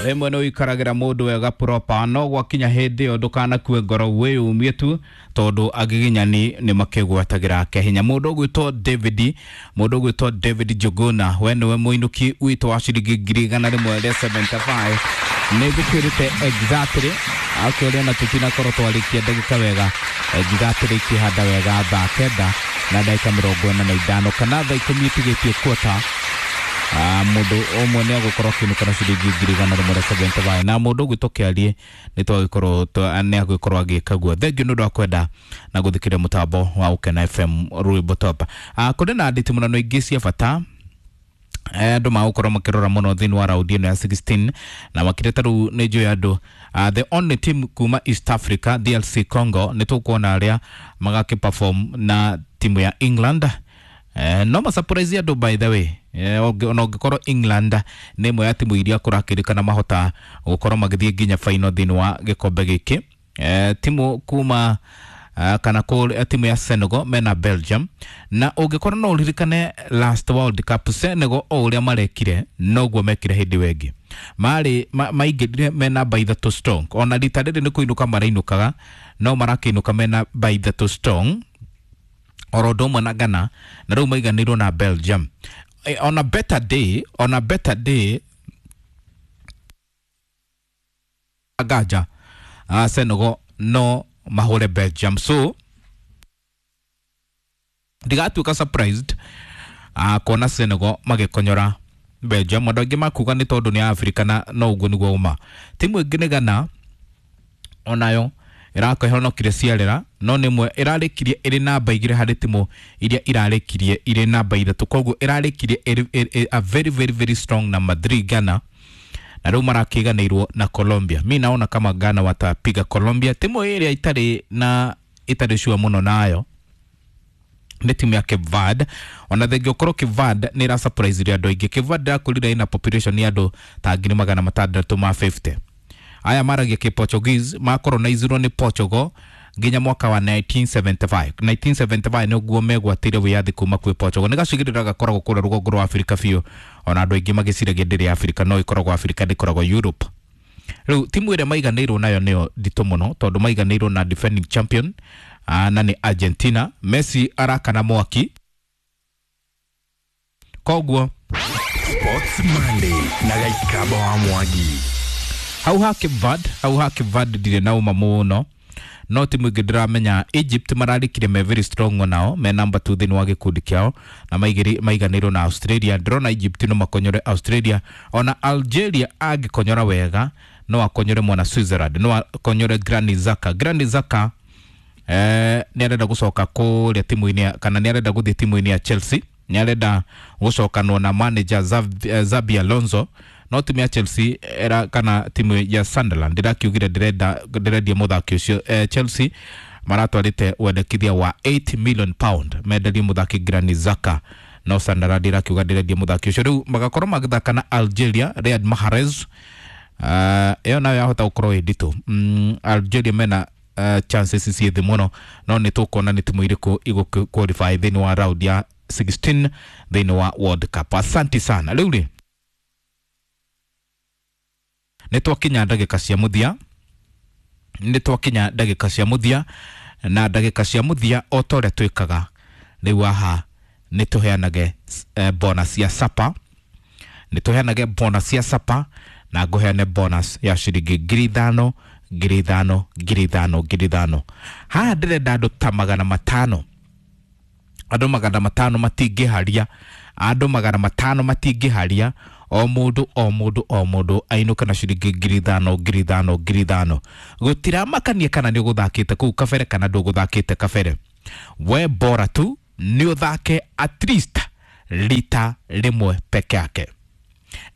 Rĩmwe nĩ ũikaragĩra mũndũ wega proper, no gwakinya hĩndĩ ĩyo ndũkanakue ngoro, wĩyumie tu tondũ agiginyani nĩ makĩgwatagĩra kehinya. Mũndũ ũgwĩtwo David, mũndũ ũgwĩtwo David Njuguna, we nĩwe mũinũki witũ wa ciringi 175,000. Nĩ ngũkwĩrĩte exactly akĩũria na tũtinakorwo twarĩkia ndagĩka wega exactly ikĩhanda wega thaa 9:45 kana thaa 10 itigĩtie quarter. Mũndũ ũmwe nĩ agũkorwo akĩinũka na ciringi 175,000, na mũndũ ũgwĩtwo Kĩarie nĩ twagĩkorwo nĩ agũgĩkorwo agĩka guo. Thengiũ nĩ ũndũ wa kwenda na gũthikĩrĩria mũtambo wa Ũkena FM rwĩmbo top. Kũrĩ na nditimũrano ingĩ cia bata andũ magũkorwo makĩrora mũno thĩinĩ wa raundi ĩno ya 16, na makĩria ta rĩu nĩ njũĩ andũ the only team kuma East Africa, DLC Congo, nĩ tũkuona arĩa magakĩ perform na timu ya England. No ma surprise andũ, by the way. Ona ũngĩkorwo England nĩ ĩmwe ya timu iria kũrakĩrĩkana mahota gũkorwo magĩthiĩ nginya final thĩinĩ wa gĩkombe gĩkĩ. Timu kuma kana kũ timu ya Senegal mena Belgium, na ũngĩkorwo no ũririkane last World Cup, Senegal o ũrĩa marekire noguo mekire hĩndĩ ĩyo ĩngĩ, marĩ maingĩrire me namba 3 strong. Ona rita rĩrĩ nĩ kũinũka marainũkaga, no marakĩinũka me namba 3 strong oro ũndũ ũmwe na Ghana, na rĩu maiganĩirwo na Belgium. On a better day, on a better day nganja Senegal no mahũre Belgium, so ndigatuĩka surprised kuona Senegal magĩkonyora Belgium. Andũ aingĩ makuga nĩ tondũ nĩ Africa, na no ũguo nĩguo ũma. Timu ĩngĩ nĩ Ghana, onayo ĩrakĩhonokire ciarera, no nĩ ĩmwe ĩrarĩkirie ĩrĩ namba 2 harĩ timu iria irarĩkirie irĩ namba 3, koguo ĩrarĩkirie ĩrĩ a very very very strong number 3 Ghana, na rĩu marakĩiganĩirwo na Colombia. Mi naona kama Ghana watapiga Colombia. Timu ĩrĩa itarĩ na itarĩ sure mũno nayo nĩ timu ya Cape Verde. Ona thengia ũkorwo Cape Verde nĩ ĩra surprise andũ aingĩ, Cape Verde ĩrakũrire ĩna population ya andũ ta 650,000. Aya maragia kĩ Portuguese, makoronizirwo nĩ Portugal nginya mwaka wa 1975. 1975 nĩguo megwatĩire wĩyathi kuma kwĩ Portugal. Nĩ gacigĩrĩra gakoragwo kũrĩa rũgongo rwa Afrika biũ, ona andũ aingĩ magĩciragia ndĩrĩ Afrika, no ĩkoragwo Afrika, ndĩkoragwo Europe. Rĩu timu ĩrĩa maiganĩirwo nayo nĩyo nditũ mũno, tondũ maiganĩirwo na defending champion, na nĩ Argentina. Messi arakana mwaki, koguo Sports Monday na Gaikaba wa Mwangi. Hau ha Cape Verde, hau ha Cape Verde ndirĩ na ũma mũno, no timu ĩngĩ ndĩramenya Egypt mararĩkire me very strong, nao me number 2 thĩinĩ wa gĩkundi kĩao, na maiganĩirwo na Australia. Ndĩrona Egypt no makonyore Australia, ona Algeria angĩkonyora wega no akonyore mwana Switzerland, no akonyore Granit Xhaka. Granit Xhaka nĩ arenda gũcoka kũrĩa timu-inĩ, kana nĩ arenda gũthiĩ timu-inĩ ya Chelsea, nĩ arenda gũcokanwo na manager Xabi Alonso, no timu ya Chelsea era kana timu ya Sunderland ndĩrakiugire ndĩrenda ndĩrendia mũthaki ũcio. Chelsea maratwarĩte wendekithia wa 8 million pound menderie mũthaki Granit Xhaka, no Sunderland ĩrakiuga ndĩrendia mũthaki ũcio. Rĩu magakorwo magĩthaka na Algeria, Riyad Mahrez. Ĩyo nayo yahota gũkorwo ĩ nditũ. Algeria mena chances ciĩ thĩ mũno, no nĩ tũkuona nĩ timu irĩkũ igũ qualify thĩinĩ wa round ya 16 thĩinĩ wa World Cup. Asante sana. Rĩu rĩ nĩ twakinya ndagĩka cia mũthia, nĩ twakinya ndagĩka cia mũthia, na ndagĩka cia mũthia o ta ũrĩa twĩkaga rĩu haha nĩ tũheanage bonus ya sapa, nĩ tũheanage bonus ya sapa, na ngũheane bonus ya ciringi 5,000, 5,000, 5,000, 5,000. Haha ndĩrenda andũ ta 500, andũ 500 matingĩharia, andũ 500 matingĩharia, o mũndũ o mũndũ o mũndũ ainũke na ciringi 5,000, 5,000, 5,000. Gũtiramakania kana nĩ ũgũthakĩte kũu kabere kana ndũgũthakĩte kabere, we bora tu nĩ ũthake at least rita rĩmwe peke yake,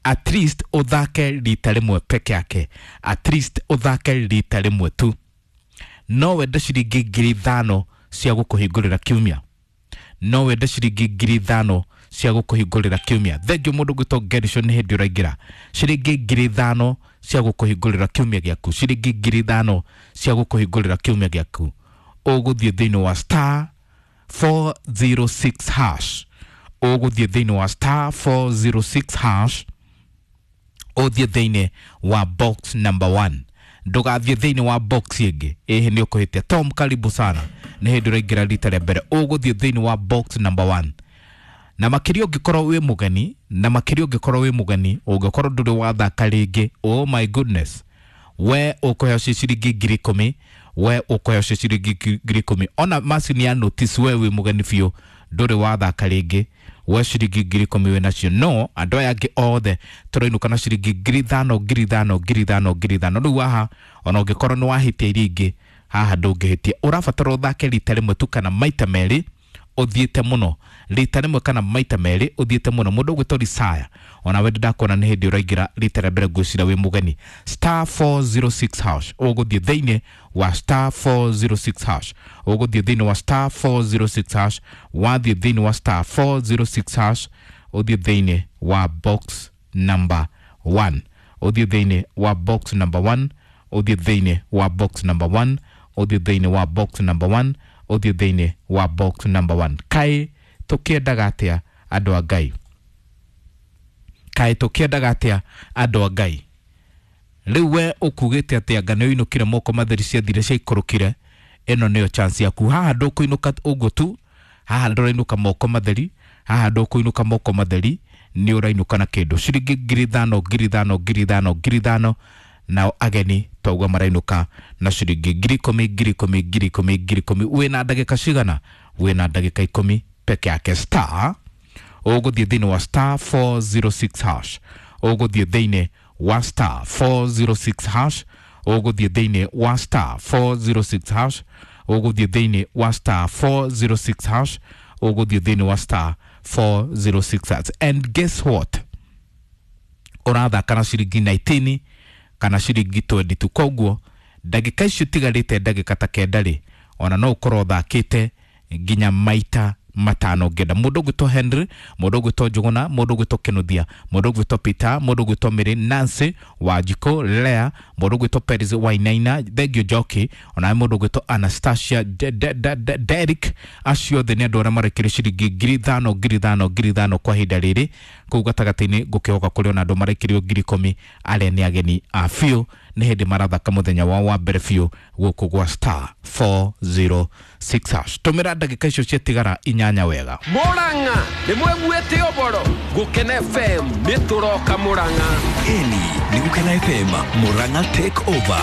at least ũthake rita rĩmwe peke yake, at least ũthake rita rĩmwe tu. No wende ciringi 5,000 cia gũkũhingũrĩra kiumia, no wende ciringi 5,000 cia gũkũhingũrĩra kiumia. Thengiũ mũndũ gwĩtwo Gerishon, nĩ hĩndĩ ũraingĩra. Ciringi 5,000 cia gũkũhingũrĩra kiumia gĩaku, ciringi 5,000 cia gũkũhingũrĩra kiumia gĩaku. Ũgũthiĩ thĩinĩ wa star 406 hash, ũgũthiĩ thĩinĩ wa star 406 hash. Ũthiĩ thĩinĩ wa box number 1, ndũgathiĩ thĩinĩ wa box ĩngĩ, ĩhĩ nĩ ũkũhĩtia. Tom, karibu sana, nĩ hĩndĩ ũraingĩra rita rĩa mbere. Ũgũthiĩ thĩinĩ wa box number 1, na makĩria ũngĩkorwo wĩ mũgeni, na makĩria ũngĩkorwo wĩ mũgeni, ũngĩkorwo ndũrĩ wathaka rĩngĩ, oh my goodness, we ũkũheo ci ciringi 10,000, we ũkũheo ci ciringi 10,000. Ona macini ya notice, we wĩ mũgeni biũ, ndũrĩ wathaka rĩngĩ, we ciringi 10,000 wĩ nacio. No andũ aya angĩ othe tũrainũka na ciringi 5,000, 5,000, 5,000, 5,000. Rĩu haha ona ũngĩkorwo nĩ wahĩtia iria ingĩ, haha ndũngĩhĩtia. Ũrabatara ũthake rita rĩmwe tu kana maita merĩ ũthiĩte mũno, rita rĩmwe kana maita merĩ ũthiĩte mũno. Mũndũ ũgwĩtwo Risaya, ona we ndakuona nĩ hĩndĩ ũraingĩra rita rĩa mbere, ngwĩciria wĩ mũgeni. Star 406 hash, ũgũthiĩ thĩinĩ wa star 406 hash, ũgũthiĩ thĩinĩ wa star 406 hash. Wathiĩ thĩinĩ wa star 406 hash, ũthiĩ thĩinĩ wa box number 1, ũthiĩ thĩinĩ wa box number 1, ũthiĩ thĩinĩ wa box number 1, ũthiĩ thĩinĩ wa box number 1, ũthiĩ thĩinĩ wa box number 1. Kaĩ tũkĩendaga atĩa, andũ a Ngai? Kaĩ tũkĩendaga atĩa, andũ a Ngai? Rĩu we ũkugĩte atĩ anga nĩ ũinũkire moko matheri, ciathire ciaikũrũkire. Ĩno nĩyo chance yaku. Haha ndũkũinũka ũguo tu, haha ndũrainũka moko matheri, haha ndũkũinũka moko matheri, nĩ ũrainũka na kĩndũ, ciringi 5,000, 5,000, 5,000, 5,000. Nao ageni twauga marainũka na ciringi 10,000, 10,000, 10,000, 10,000. Wĩna ndagĩka cigana? Wĩna ndagĩka 10 peke yake. Star, ũgũthiĩ thĩinĩ wa star 406 hash, ũgũthiĩ thĩinĩ wa star 406 hash, ũgũthiĩ thĩinĩ wa star 406 hash, ũgũthiĩ thĩinĩ wa star 406 hash, ũgũthiĩ thĩinĩ wa star 406 hash. And guess what, ũrathaka na ciringi 19 kana ciringi 22. Koguo ndagĩka icio tigarĩte, ndagĩka ta 9 rĩ, ona no ũkorwo ũthakĩte nginya maita 5 ngenda. Mũndũ ũgwĩtwo Henry, mũndũ ũgwĩtwo Njũgũna, mũndũ ũgwĩtwo Kĩnuthia, mũndũ ũgwĩtwo Peter, mũndũ ũgwĩtwo Mary, Nancy Wanjikũ, Lea, mũndũ ũgwĩtwo Peris Wainaina, thengio Njoki, onawe mũndũ ũgwĩtwo Anastasia Derrick, acio othe nĩ andũ arĩa marekire ciringi 5,000, 5,000, 5,000 kwa ihinda rĩrĩ. Kũu gatagatĩ-inĩ ngũkĩhoka kũrĩ ona andũ marekirio 10,000, arĩa nĩ ageni a biũ, nĩ hĩndĩ marathaka mũthenya wao wa mbere biũ gũkũ gwa star 406 hash. Tũmĩra ndagĩka icio ciatigara 8 wega. Murang'a nĩ mweguĩte ũboro Gũkena FM nĩ tũroka Murang'a. Ĩni nĩ Gũkena FM Murang'a take over.